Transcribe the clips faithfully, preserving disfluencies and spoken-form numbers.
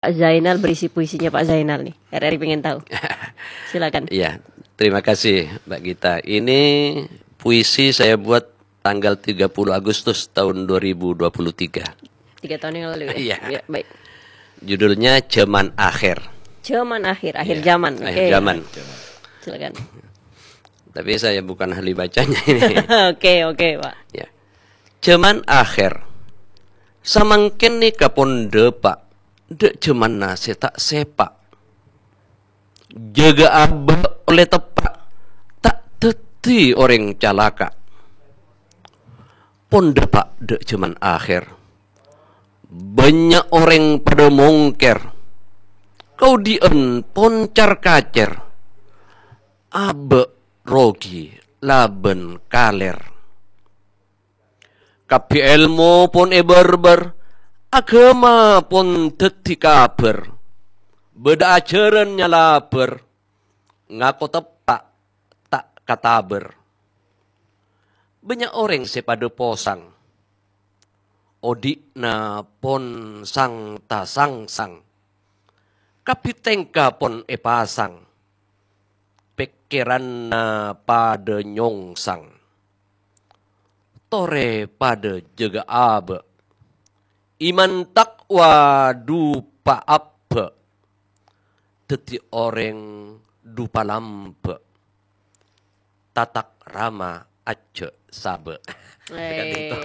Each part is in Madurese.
Pak Zainal, berisi puisinya Pak Zainal nih. R R I pengen tahu. Silakan. Iya, terima kasih, Mbak Gita. Ini puisi saya buat tanggal tiga puluh Agustus tahun dua ribu dua puluh tiga. Tiga tahun yang lalu ya? Iya. Ya, baik. Judulnya Zaman Akhir. Zaman akhir, akhir Iya, zaman. akhir Oke. zaman. Silakan. Tapi saya bukan ahli bacanya ini. Oke, oke, Pak. Ya. Zaman akhir. Samangkèn nèka pon dâpa', dâ' jamanna sè ta' sèpa'. Jâgâ abâ' ollè teppa', ta' dhâddhi orèng calaka'. Pon dâpa' dâ' jaman akhèr. Bânnya' orèng padâ mongkèr. Kaodi'ân pon car-kacèr. Abâ' rogi labân kalèr. Kabbhi èlmo pon èbârbâr, aghâma pon dhâddhi kabhâr. Bâdâ ajhârân nyalabâr, ngako teppa' ta' katabâr. Bânnya' orèng sè padâ posang, odi'na pon sang-tasangsang. Kabbhi tèngka pon èpasang, pèkkèranna padâ nyongsang. Torè padâ jâgâ abâ', iman taqwa dupa abbâ', dhâddhi orèng dupa lambâ'. Tatak rama ajjhâ' sabâ'. Tekan Eh. itu.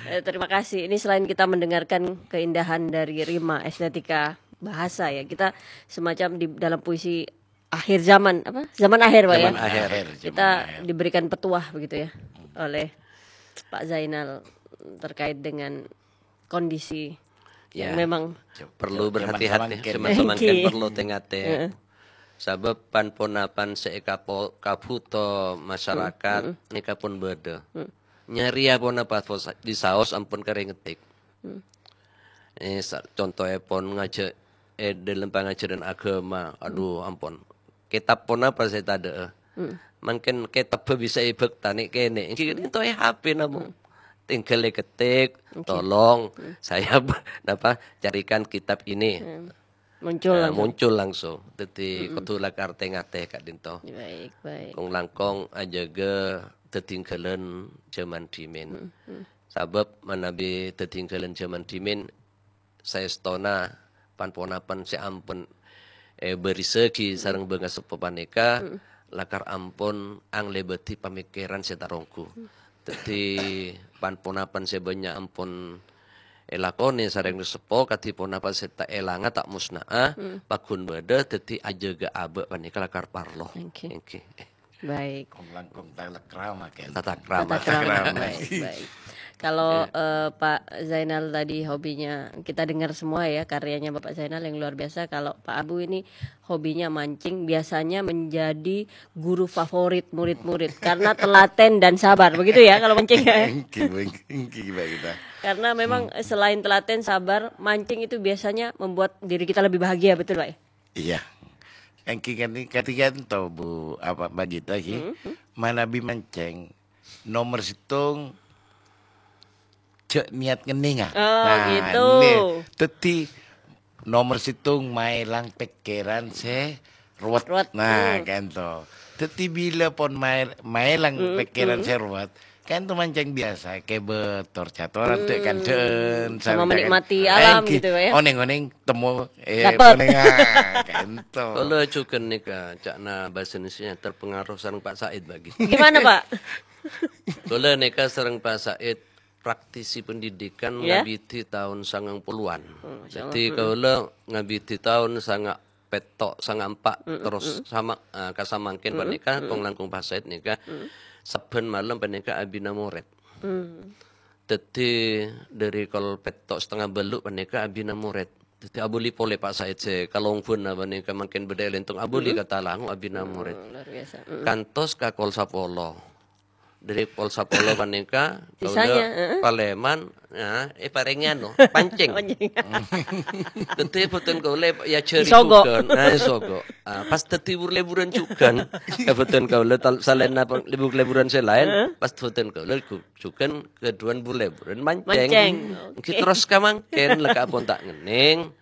Eh, terima kasih. Ini selain kita mendengarkan keindahan dari rima, estetika bahasa ya, kita semacam di dalam puisi akhir zaman, apa? Zaman akhir, Pak, ya? Zaman akhir. Akhir, zaman Kita akhir. diberikan petuah begitu ya oleh Pak Zainal terkait dengan kondisi yang Ya. memang Perlu Zaman berhati-hati, samangkèn. zaman samangkèn Nggih. perlu tè-ngatè. Heeh. Sabâb pan-ponapan sè èkapo-, kabhuto masyarakat Hmm, hmm. nèka pon bâdâ. Hmm. Nyarèya ponapa pos-, disaos ampon karè ngetik. Hmm. Eh, sa-, contoèpon ngajhâ-, è dâlem pangajhârân aghâma, aduh, Hmm. ampon. Kètab ponapa sè tadâ'â? Hmm. Mangkèn kètabbhâ bisa èbhâktanè kènè'. Èngghi Hmm. ka'dinto è H P namong. Hmm. Tinggal èketik, Oke. "Tolong Hmm. saya b-, napa, carikan kitab ini." Hmm. Muncul Nah, langsung. muncul langsung. Dhâddhi Mm-mm. kodhu lakar tè-ngatè ka'dinto. Baik, baik. Kong-langkong ajâgâ dhâddhi èngghâlân jhâman dhimèn. Mm-mm. Sabâb manabi dhâddhi èngghâlân jhâman dhimèn, saèstona pan-ponapan sè ampon èbârisaghi Mm. sareng bângaseppo panèka, Mm. lakar ampon anglèbâdhi pamèkkèran sè taronggu. Mm. Dhâddhi, pan-ponapan sè bânnya' ampon èlakonè sareng seppo, kadhi ponapa sè ta' èlanga, ta' mosna'a, Hmm. pagghun bâdâ, dhâddhi ajâgâ abâ' panèka lakar parlo. Oke. Èngghi. Baik. Kong-langkong tata krama, kan? Tata krama. Tata krama. Tata krama. Baik, baik. Kalau, Ya. eh, Pak Zainal tadi hobinya, kita dengar semua ya, karyanya Bapak Zainal yang luar biasa. Kalau Pak Abu ini hobinya mancing, biasanya menjadi guru favorit murid-murid karena telaten dan sabar, begitu ya kalau mancing ya? Èngghi, èngghi, èngghi, Mbak Gita. Karena memang Hmm. selain telaten, sabar, mancing itu biasanya membuat diri kita lebih bahagia, betul, Pak? Iya. Èngghi kan, katiga to, Bu, apa, Mbak Gita, ghi? Hmm, hmm. Manabi mancing, nomor sèttong, jhâ' niat ngennènga. Oh, Nah, gitu. nè, dhâddhi nomor sèttong, maèlang pèkkèran sè ruwet. Ruwet, Nah, hmm. kan to. Dhâddhi bilâ pon maè-, maèlang Hmm, pèkkèran hmm. sè ruwet, kan to mancing biasa, kèbât, tor-catoran, Hmm. tè' kandhâ'ân, Sama sareng menikmati kan. alam Èngghi, gitu, Pak, ya? onèng-onèng temmo, eh, Dapet. onèng, ah, kan to. Kaulâ jhughân nèka, ca'na bhâsa Indonesianya terpengaruh sareng Pak Said, Mbak Gita. Gimana, Pak? Kaulâ nèka sareng Pak Said praktisi pendidikan Ya. ngabidhi taon sangang puluhan. Oh, masya Allah. Jadi, Mm-mm. kaulâ ngabidhi taon sanga' pètto', sanga' empa', Mm-mm. terros Mm-mm. sama, eh, ka samangkèn Mm-mm. panèka, Mm-mm. kong-langkong Pak Said nèka, Mm. sabbhân malem panèka abina morèd. Mm. Dhâddhi, dhâri kol pètto' satengnga bâllu' panèka abina morèd. Dhâddhi, abâli polè Pak Said sè kalongbhâna panèka mangkèn bâdâ è Lentong, abâli Mm-mm. ka Talango abina morèd. Oh, luar biasa. Mm-mm. Kantos ka kol sapolo. Dhâri pol sapolo panèka, Sisanya, kaulâ heeh. palèman, nah, èparèngè anu, pancèng. Pancèng. Dhâddhi bhunten kaulâ èajhâri Disogo'. jhughân. Nah, èsogo'. Ah, pas dhâddhi bur-lèburân jhughân, ka bhunten kaulâ tal-, salaènna pon-, bur-lèburân sè laèn, Heeh. pas bhunten kaulâ gu-, jhughân kadhuwân bur-lèburân mancèng. Mancèng. Èngghi Oke. terros ka mangkèn, la ka' pon ta' ngennèng.